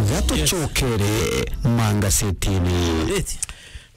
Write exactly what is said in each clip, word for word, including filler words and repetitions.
Gatucokere mangasetini. Eti.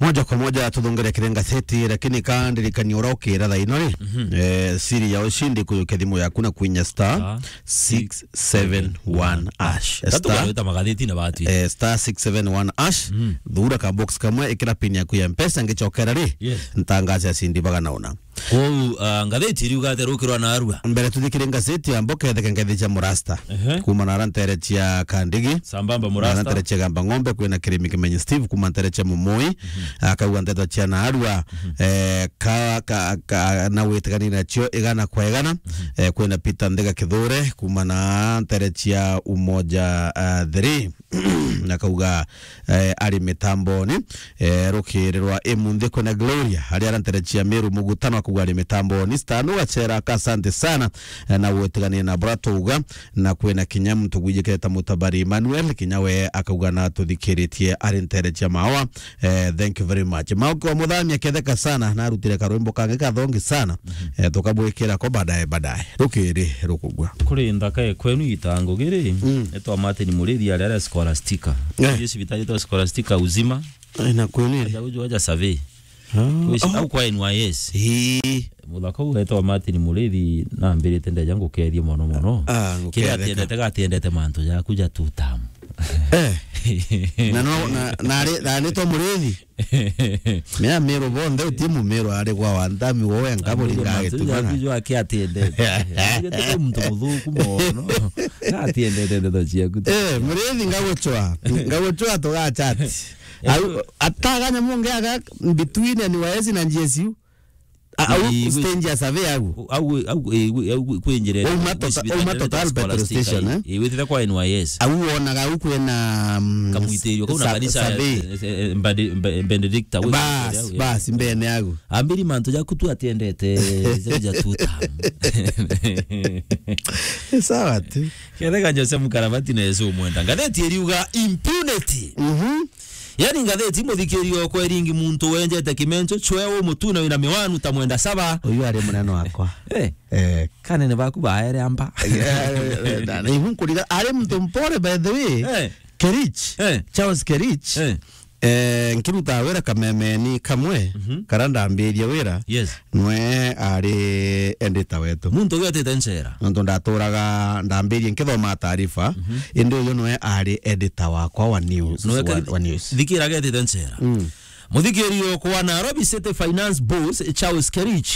Moja kwa moja tuthungire kiri ngaseti, lakini ka ndirikania uria ukira thaa ino ri, eh, siri ya ushindi kuyukia thimu yaku na kwinya star star six seven one hash. Tatu Star, barwita magatheti na batu. Eh, star six seven one hash. Thura ka box kamwe, ikira pin yaku ya Mpesa, ngicokera ri, Yes. ntangaze ashindi bagana una. Kwou, ah, ngatheti iriuga atia rukirwa na arua? Mbere tuthikire ngatheti ya mboka etheke ngethi cia Murasta. Ehe. Kuma na ara ntere cia Kandigi. Sambamba Na ara Murasta. ntere cia Gamba Ng'ombe kwina Kirimi Kimenyi Steve kuma ntere cia Mumui. Akauga nteto cia na arua. Eh, ka, ka, ka, na witikani nacio igana kwa igana. Eh, kwina Peter Ndega Kithure kuma na ntere cia Umoja, ah, three. Akauga, eh, ari mitamboni, eh, rukiri rwa imunthi kwina Gloria, aria aranterecia Miru Mugutano, akauga ari mitamboni. Stano Gachera, ka asante sana, eh, na gwitigania na bura twauga, na kwina kinya muntu gwijikireta Mutabari Emmanuel, kinya we akauga na tuthikiritie ari nterecia mawa. Eh, thank you very much. Mauki wa Muthami aketheka sana, na arutire karwimbo kangi kathongi sana. Eh, tukabwikira ko baadaye, baadaye. Rukiri rukugwa. Kuri nthaka e kwenu itango giri, Mm. etwa Martin Murithi aria aria Scholastica. Eh. Iri cibitari etwa Scholastica uzima. Eh, na kwenu iri? Aja uju aja survey. Ah, Wisi, oh. au kwa N Y S. Ii. Muthaka u etwa Martin Murithi nambirite ndeja ngukethie mono mono. Ah, Kiria nguketheka. atiendete gatiendete mantu jaku ja two term. Eh. Na no, na, na ari, na aritwa Murithi. Mea Miru bonthe uti Mumiru ari gwa Wanthami wo wenka buringa gitugana. Jwa kiatiendete. Muntu muthuku mono. Atiendete ndeto ciaku. Eh, Murithi ngagucwa. Ngagucwa tugachat. Au ataganya mungi aga between N Y S na G S U. A-, au Ii, wi- stage ya survey au. Au, au, ii, wi-, au, wi-, kwinjira Uma wi-, tota-, cibitari uma ya Total Petrol Scholastica, Station, ii. eh? Ii, witite kwa N Y S. Au wonaga au kwina, mm, Kamwitirio kau na sa-, kanisa ya, survey. eh, eh, Mbadi-, Mbe-, Benedicta, wi Bas, kanisa ya, bas, mbene au. Ambiri mantu jaku tu atiendete, ja, ja tu tam. Sawa tu. Kethega Jose Mukarabati na Yesu umwenda. Ngatheti iriuga impunity. Mhm. Yani ngatheti, muthikiri okwa, iringi muntu wenjete kimencho, chwe umutuna wina miwanu ta mwenda saba. Uyu ari munene wakwa. Eh. Eh. Kanene baku baere amba. Eh, na, na ibu nkuriga, ari muntu mpore, by the way. Eh. Kerich. Eh. Charles Kerich. Eh. Eh, nkiruta wira kamemeni kamwe, Mhm. kara ndambiria wira, Yes. nwe ari editor wetu. Muntu ugetete nchera. Nontu ndaturaga ndambirie nkithoma taarifa, Mhm. indi uyu nwe ari editor wakwa wa news, Nwe wa, kari-, wa news. Thikira getite nchera. Mm. Muthikiri okwa Nairobi City Finance Boss, Charles Kerich,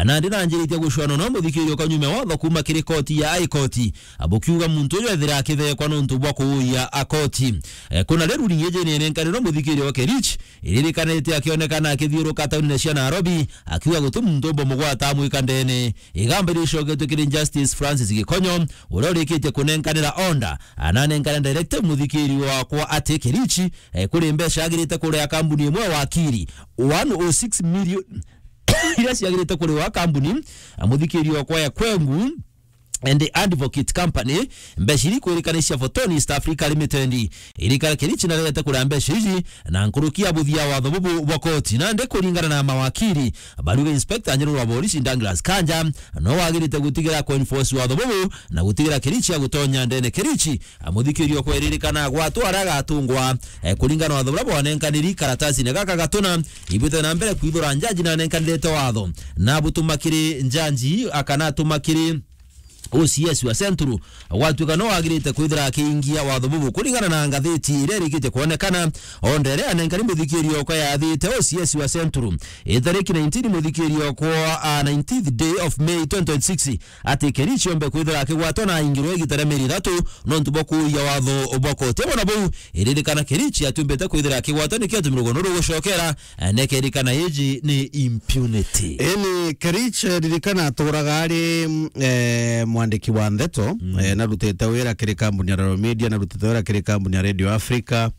nandi nanjiritie gucwana no muthikiri okwa nyume watho kuma kiri koti ya High Court, abukiuga muntu uyu ethira akithekwa nontu bwa kuuya akoti. Eh, kuna riu ringi jeni nenkanirwe muthikiri wa Kerich, iririkanite akionekana akithiuruka taunine cia Nairobi, akiuga guti muntu umba mugwata amwika ndene. Igamba ricoketwe kiri Justice Francis Gikonyo, uria urikitie kunenkanira order, ananenkana direct muthikiri wakwa ati Kerichi, eh, kuri mbeca agirite kuria kambuni imwe ya wakiri, one oh six million, iria ciagirite kuriwa kambuni, eh, muthikiri wakwa ya Kwengu and Advocate Company, mbeca iri kwirikana cia Fortune East Africa Limited. Irikana Kerichi narete kuria mbeca iji, na nkuruki ya buthia watho bubu bwa koti. Nandi kuringana na mawakiri, bariuga Inspector General wa Polisi Douglas Kanja no wagirite gutigira ku enforce watho bubu na gutigira Kerichi agutonya ndene. Kerichi, a, muthikiri okwa iririkana agwatwa aria agatungwa, eh, kuringana na watho buria bwanenkaniri karatasine gaka gatuna, ibwite na mbere kwithura njaji nanenkanirite watho, na butuma kiri njaji, akana atuma kiri O C S wa Central, gwatuika no agirite kwithira akiingia watho bubu. Kuringana na ngatheti iria irikitie kwonekana, order iria anenkani muthikiri okwa yathite O C S wa Central, itariki nineteen muthikiri okwa, a, nineteenth day of May twenty twenty-six, ati Kerichi ombe kwithira akigwatwa na aingirwe igita ria mieri ithatu nontu bwa kuuya watho bwa koti. Bona buu, iririkana Kerichi atumbite kwithira akigwatwa nikio atumire rugono rugucokera, eh, nekerikana iji ni impunity. Eni Kerich, eh, ririkana aturaga ari, mm, eh, mwandiki wa ndeto, Mm. eh, narutite wira kiri kambuni ya Royal Media, narutite wira kiri kambuni ya Radio Africa,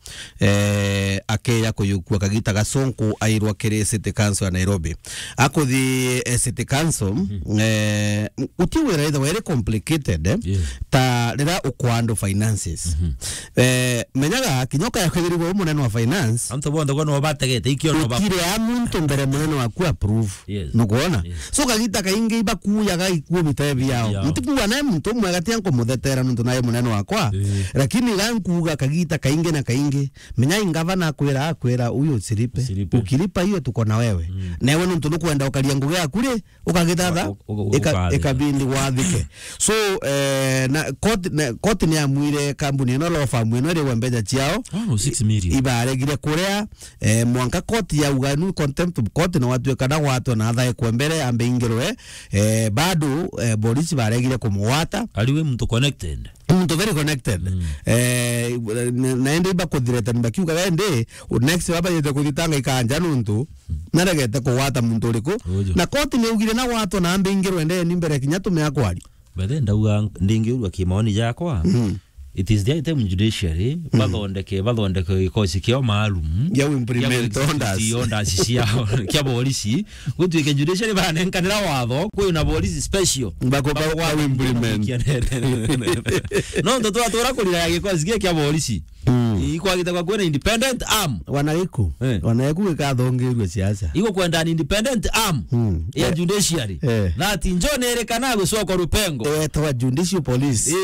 eh, akeya kuyukua kagita gasonko airwa kiri City Council ya Nairobi. Akuthi, eh, City Council, Mhm. eh, uti wira ithe were complicated, eh, Yeah. ta riria ukwandå finances. Mhm. Eh, menyaga, kinya ukaya kwithirwa u munene wa finance, antu bonthe kwa no bategete, ikio no ba- utire a muntu mbere munene waku approve. Yes. Nukwona? Yes. So, kagita kaingi ibakuyaga ikuo bitae biao. Biao. Ntikuga nae muntu umwe gati ankumuthetera nuntu nae munene wakwa. Eh. Lakini ga nkuga kagita kaingi na kaingi, menya ingavana akwira, akwira, "Huyo usilipe. Usilipe. Ukilipa hiyo tuko na wewe." Mm. Nawe nuntu nukwenda ukaria ngugi yaku ri, ukagithatha, Uka-, uka-, uka-, ika-, ukathe. Ikabindi wathike. So, eh, na court, na court ni amwire kambuni ino, law firm ino irigwe mbeca ciao. Oh, no, six million. Ibaregire kuria, eh, mwanka court yauga nu contempt of court, na watuika na gwatwa na athae kwa mbere ambe ingirwe, eh, bado, eh, polisi baregire kumugwata. Ari we muntu connected? Muntu very connected. Mm. Eh, na, na indi ibakuthireta ni bakiuga, indi next baba yete kuthitanga ikanja nuntu naregete kugwata muntu uriku. Uju. Na koti ni augire na gwatwa na ambe ingirwe ndeni mbere kinya tumea kwari. Bethe ndauga ndingiurua kimaoni jakwa. Mm. It is the time judiciary, mm, bathondeke, bathondeke gikosi kiao maalum gia implement gia orders. Orders ciao, kia borisi. Gutuike judiciary banenkanira watho, kwi na borisi special. Bako-, ba-, ba-, ba-, implement. No ndo twatura kurira gikosi gia kia borisi. Mm. Ikwagite kwa kwina independent arm. Wanagiku. Eh. Wanagiku gikathongirue siasa. Iko kwenda an independent arm, mm, ya, eh, judiciary. Eh. That njo nerikana gucokwa rupengo. Ewetagwa judicial police. Eh,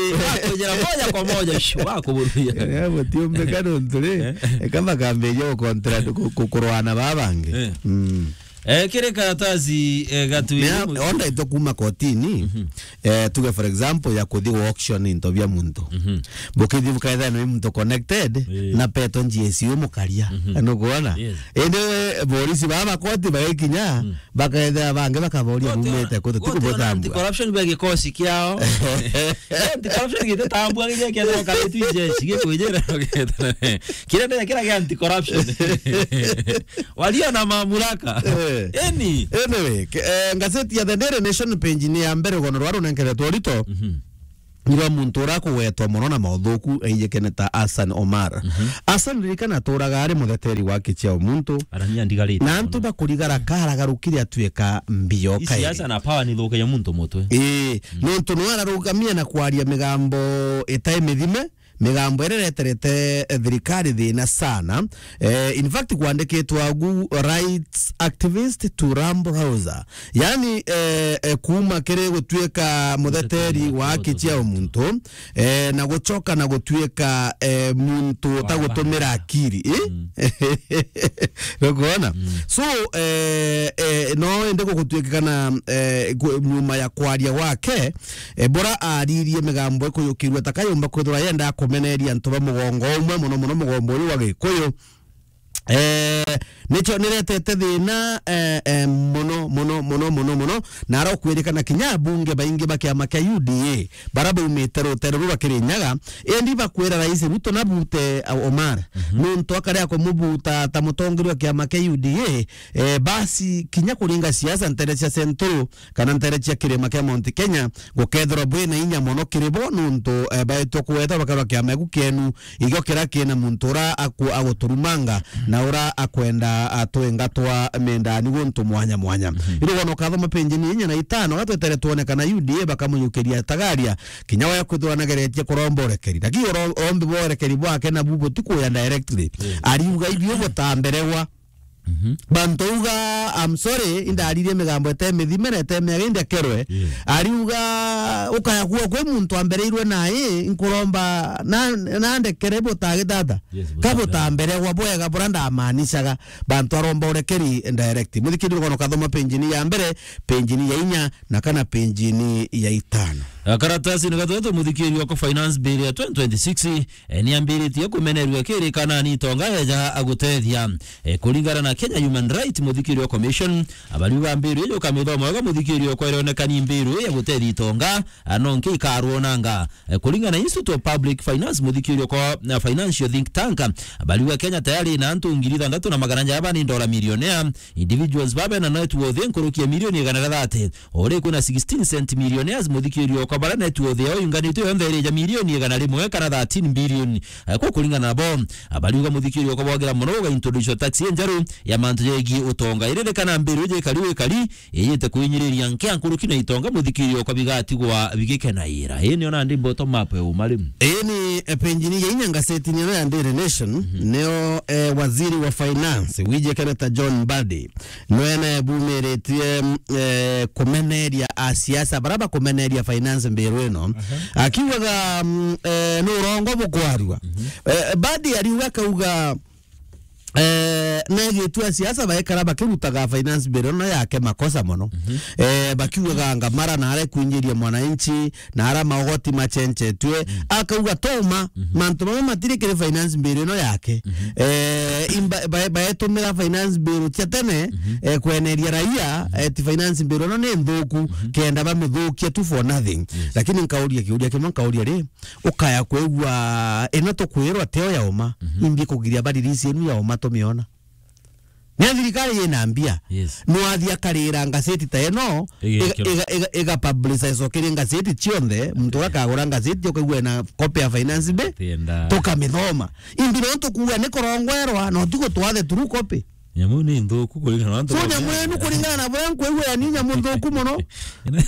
ya kujira moja kwa moja, shu, wa kuburuya. Eh, gutiumbika nuntu ri, eh, eka makambiria gukontra-, ku-, ku-, kurwana baba bangi. Eh. Mm. Eh, kiri karatathi, eh, gatwiri. Mea, mu- onda ito kuma kotini, mhm, eh, tuge for example ya kuthi gu auction into bia muntu. Mhm. Bukithi bukethira ni muntu connected, eh, na peto G S U mukaria. Mhm. Nukwona? Yes. Indi borisi baba koti bagikinya, mm, bakethira bangi bakaboria bumite kutu, koti ona tikubotambua. Anti-corruption bia gikosi kiao. Anti-corruption gititambua gigia kiethira karitwi jeshi, gikwijira. Kiria ndira kiria gia anti-corruption. Walio na mamlaka. Eh. Eni. Anyway, ke-, eh, ngazeti ya The Daily Nation page ni ya mbere, rugono rwa runenkeretwe Ruto. Mhm. Ni rwa muntu uria akugwetwa mono na mauthuku eijikene ta Hassan Omar. Mhm. Hassan, ririkana, aturaga ari mutheteri wa haki cia muntu. Arania ndigarite na antu mono. Bakurigara karagarukire atuika mbio. Ii kairi. Siasa na power ni thukagia muntu mutwe. Ii, mm, nontu nwe ararugamia na kwaria migambo itai mithime. Migambo iria ireterete, eh, thirikari thina sana. Eh, in fact, kwandikitwe agu, "Rights activist to Rambo Hauser." Yani, eh, eh, kuma kiri gutuika mutheteri wa haki cia umuntu, eh, na gucoka na gutuika, eh, muntu utagutumira akiri. Eh? Mm. Nukwona? Mm. So, eh, eh, no ende gugutuikikana, eh, ku-, nyuma ya kwaria gwake, eh, bura aririe migambo ikuyukirua ta kayumba kwithirwa yenda kumeneria antu ba mugongo umwe, mono mono mugongo uyu wa Gikuyu. Eh, nicho niretete thina, eh, eh, mono, mono, mono, mono, mono. Na arokwirikana kinya abunge baingi ba kiama kia U D A bara baumite rutere ruru rwa Kirinyaga, indi bakwira Rais Ruto nabute, uh, Omar. Mhm. Nuntu akarea kumubuta ta mutongeria wa kiama kia U D A, eh, basi kinya kuringa siasa ntere cia Central, kana ntere cia kirima kia Mount Kenya, gukethirwa bwina inya mono kiri bo, nuntu, eh, baitwa kugweta bakarwa kiama giku kienu, igio kiria kina muntu ura aku-, aguturumanga, na ura akwenda atwinga twa mindani guntu mwanya mwanya. Mhm. Iri wona ukathoma page ni inya na itano, gatwetere twone kana U D A bakamujukiria Tagaria, kinya waya kwithirwa nageretie kuromba urekeri. Lakini uro-, urombi bwa urekeri bwake nabu butikuya directly. Mm. Ariuga ibio butamberegwa. Mhm. Bantu auga, "I'm sorry, indaririe migambo ete mithime na ete miaga, indi akerwe." Yeah. Ariuga, "Ukaya kuo kwi muntu ambereirwe nai, nkuromba na, na ndekere butagitata." Yes, ka butamberegwa bwega bura ndamaanishaga. Bantu aromba urekeri direct. Muthikiri rugono kathoma page ni ya mbere, page ni ya inya, na kana page ni ya itano. Karatasi ni gatatu, muthikiri wako finance bill ya twenty twenty-six, eh, niambiritie kumenerua kiri kana ni itonga eja agutethia. Eh, kuringana na Kenya Human Rights, muthikiri wa Commission, abariuga mbiru iyo ukamithoma wega, muthikiri okwa ironeka ni mbiru ya gutethia itonga, ah, no nki ikarwonanga. Eh, kuringana na Institute of Public Finance, muthikiri okwa na financial think tank, abariuga Kenya tayari na antu ngiri ithanthatu na magana jaba ni dola millionaire, individuals babe na net worth nkuruki ya milioni igana ria thirty, ori kwina sixteen cent millionaires, muthikiri okwa kwa bara net worth yao yunganitwe yonthe iri ja milioni igana rimwe kana thirteen billion. Eh, ku kuringana nabo, abariuga muthikiri okwa bwagira mono ugaintroduce tax injeru ya mantu jegie utonga. Iririkana mbiru iji ikari wikari, iyite kwinyiriria nkia nkuruki na itonga muthikiri okwa bigatigwa bigikenaira. Ii nio nandi bottom up ya umari. Ii ni, eh, penjini ya inya ngasetini ino ya Daily Nation, nio, eh, waziri wa finance, wiji Keneta John Mbadi, nwe nae bumiritie, mm, eh, kumeneria a siasa, bara bakumeneria finance mbiru ino. Akiugaga, mm, eh, ni urongo bukwarua. Eh, Mbadi ariuga, akauga, eh, negitua siasa baikara bakirutaga finance bill ino yake makosa mono. Eh, bakiugaga ngamara na aria kuinyiria mwananchi, na aria magoti machenchetue. Akauga toma, mantu mamwe matiri kiri finance bill ino yake. Eh, imba-, ba-, baetumira finance bill cia tene, eh, kweneria raia, eh, ti finance bill ino ni nthuku, kenda bamithukia tu for nothing. Lakini nkauria kiuria kimwe, nkauria ri, ukaya kwigua ino tukwirwa tio ya uma, imbi kugiria ba release inu ya uma tumiona? Ni thirikari yina mbia. Yes. Nwathi akarira ngaseti ta ino, iga, iga, iga, iga publicize okiri ngaseti cionthe, muntu uria akagura ngaseti ukaigua ena copy ya finance bill, tukamithoma. Imbi no tukuga ni kurongwerwa, no ti gutwathe through copy. Nyamu ni nthuku kuringana na antu. So, nyamu inu kuringana na buria nkwigua, yani nyamu nthuku mono. Ino,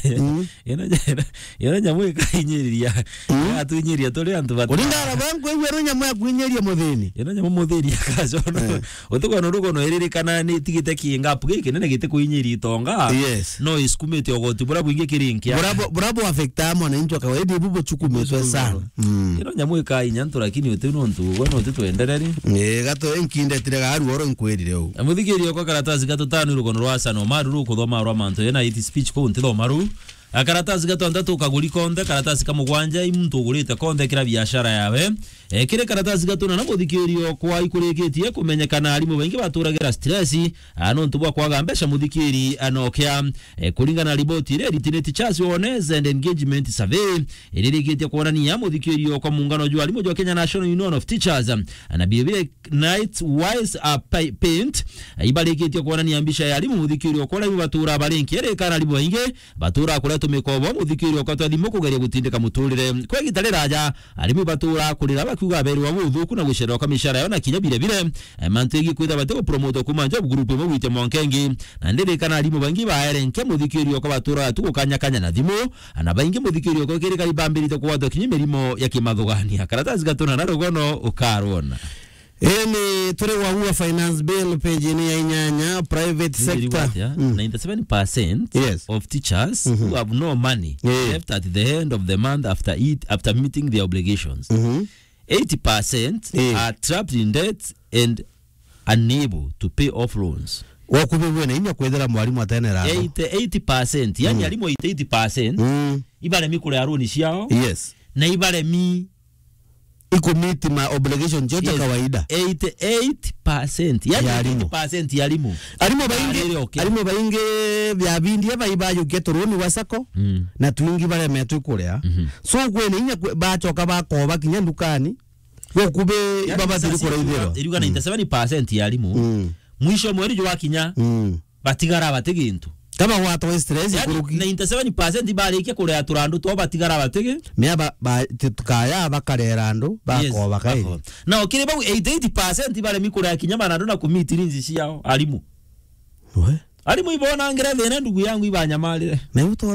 ino, ino, ino nyamu ikainyiria. Ikatuinyiria turi antu bata. Kuringana na buria nkwigua, ino nyamu ya kuinyiria muthini. Ino nyamu muthini akacono. Utukono rugono iririkana ni tigite kingapu giki nene giti kuinyiria itonga. Yes. No isukumite ugoti buria bwingi kirinkia. Buria bu-, buria bu affecta mwananchi wa kawaida, ibu buchukumitwe sana. Mm. Ino nyamu ikainya ntu, lakini uti nontu ugo no uti twendereri. Ni gato enkindetire garu oro nkwirire u. Muthikiri okwa karatasi gatutano rugono rwa Hassan Omar rukuthoma rwa mantu yena iti speech ko nti thoma ru. A karatasi gatantatu kaguri konthe, karatasi ka mugwanja i muntu ugurite konthe kira biashara yawe. E, kiri karatasi gatuna na muthikiri okwa ikurikitie kumenyekana arimu baingi baturagira stress, a, nontu bwa kwaga mbeca muthikiri anokia. E, kuringana na riboti iria iritineti Teachers Awareness and Engagement Survey, iririkitie kwonania muthikiri okwa muungano jwa arimu jwa Kenya National Union of Teachers, na Bibire Night Wise, a, Pi-, Paint, ibarikitie kwonania mbica ya arimu muthikiri okwa arimu batura barinki iri kana arimu baingi batura kuria tumikobo muthikiri okwa twa thimu kugeria gutindika muturire. Kwa igita riraja, arimi batura kurira bakiuga aberwa buthuku na gucererwa kwa mishara yao na kinya bire bire, eh, mantu igi kwitha bati gupromotwa kuma job group imwe gwitia mwanka ingi. Na ndirikana arimu baingi baere nke muthikiri okwa batura tu gukanyakanya na thimu, na baingi muthikiri okwa kiri kari bambirite kugwatwa kinya mirimo ya kimathugania. Karatasi gatuna na rugono ukarwona. Eni turi wa Ua Finance Bill, page ni ya inyanya, private sector. Ninety-seven percent, yes, of teachers, mhm, who have no money, eh, left at the end of the month after it, after meeting their obligations. Mhm. Eighty percent, eh, are trapped in debt and unable to pay off loans. Wakubigwe na inya kwethira mwarimu atene raro. Eighty, eighty percent, yani, mm, arimu eighty-eight percent, mm, ibaremi kuria loan ciao. Yes. Na ibaremi ikumiti ma obligation cio cia, yes, kawaida. Eighty-eight percent. Yani ya arimu. Eighty percent ya arimu. Arimu baingi, arimu baingi bia bindi eba ibajukia turuni wa sacco, mm, na twingi baremetwe kuria. Mhm. So, kwena inya kwe-, bachoka bakoba kinya ndukani. Gukubi, yani, ibabatiri kuraithirwa. Iriuga, mm, ninety-seven percent ya arimu. Mm. Mwisho mweri jwakinya. Mm. Batigara bati gintu. Kaba gwatwa stress, yani, kuruki. Ninety-seven percent barikia kurea turandu two batigara bati gi-. Mea ba, ba, ti-, tukaya bakarera andu, yes, bakoba kairi. Bako. Na ukiri bau eighty-eight percent baremi kurea kinya marandu na kumiti rinzi ciao, arimu. We? Arimu ibonangire thina ndugu yangu ibanyamarire. Na uto